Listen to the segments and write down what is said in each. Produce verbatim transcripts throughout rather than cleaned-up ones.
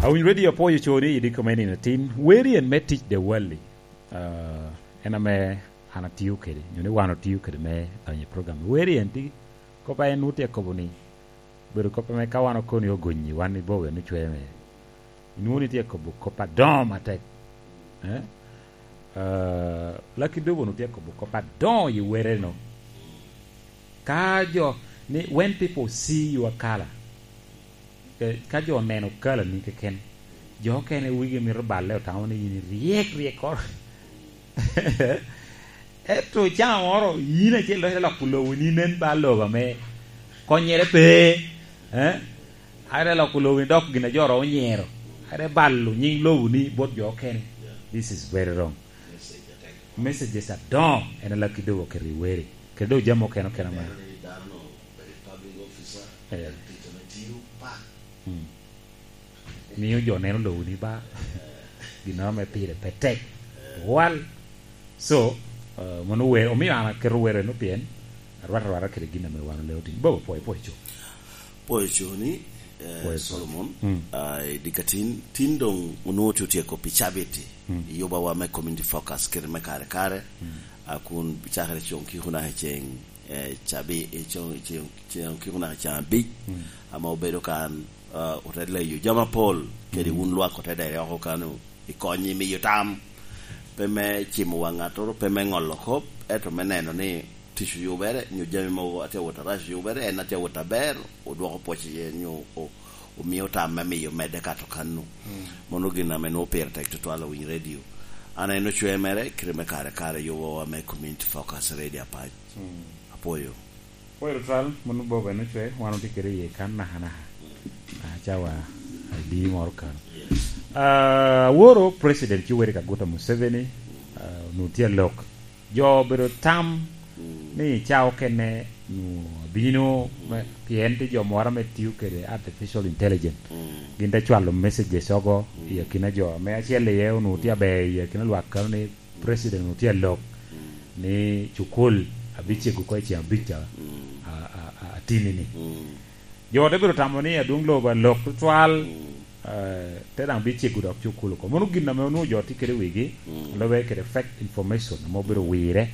Awinj radio apoyo coni idi komeni na tin weri en me tic de wali uh, en ame an atiyo kede nyo ni wan otiyo kede me donyo i program weri en ti kopa en nuti akobo ni bedo kopa me ka wan okoni ogonyi wan ni bobe ni chwe me inwoni ti akobo kopa don matek eh? uh, Lucky Dube nuti akobo kopa don i were no ka jo ni when people see your color eh, ka jo neno color ni keken jo kene wigi mito balle otamo ni in riek riek koro eto caa moro in achiel dok loko lowo ni nen ba lobo me konyere pe eh are loko lowo ni dok gina jo ro nyiero are ballo nying lowo ni bot jo kene this is very wrong messages adon en Lucky Dube oketo i were kede do jamo keno keno ma Neno ni dano no obedo public officer Eh. tic ame tiyo pak miyo jo neno lowo ni ba gino me pire pe tek wal so uh, mono wer omiyo an aketo were no pien arwata arwata kede gina me wan oleo tin bobo poe poe cho poyo coni eh, Poyo, Solomon Mm. uh, dikatin tin dong onwongo tye otyeko pi cabit i yubawa me community focus kede me kare kare uh, kun cakere cong ki kunaka ceng eh, cabi eh, cong ceng ceng ki kunaka ceng abic ama obedo kan uh, ote leyo jama pol kede wun lwak ote dere oko kanu ikonyi miyo tam pe me cimo wang ng'atoro pe me ngolo kop eto me neno ni tic oyubere nyo jami mogo atye wot arac oyubere en atye wot aber odwoko pwoc iye nyo o- omiyo tam me miyo mede kato kanu mono gin ame nwo pire tek tutwal owiny radio an en ocwe mere kite me kare kare yubowa me community focus radio apac apoyo poe tutwal mono bobo en ocwe wan oti kede iye kan naha naha achawa adi moro kano uh, woro president Yoweri Kaguta Museveni uh, nutie lok jo bedo tam ni cao kene nu bino me- pien ti jo moro me tiyo kede artificial intelligence gin te chwalo messages ogo i akina jo me achiel iye onu tye aber i akina lwak kano ni president onu tye lok ni cukul abichiego ko e chieng' abic a- a- a- atini ni jo te bedo tamo ni adwong lobo alok tutwal eh, te dang bichiego dok cukul oko mono gin ame onwongo jo tye kede wigi lobe kede fake information ame obedo wire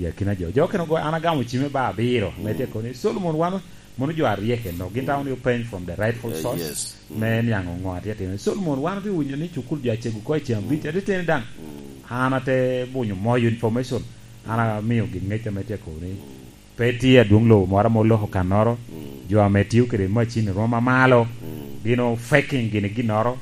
i akina jo jo kene go an agamo cime ba abiro me tye koni Solomon wan mono jo arieke no gin tamo ni openj from the rightful Eh, source yes. me niango ngo atye timo Solomon wan tye winyo ni cukul jo achego ko e chieng' abic ate tene dang an ate bunyo moyo information an amiyo gin ng'ec ame tye koni pe tye adwong lobo moro moloko kanoro jo ame tiyo kede machine romo mamalo gino faking gini ginoro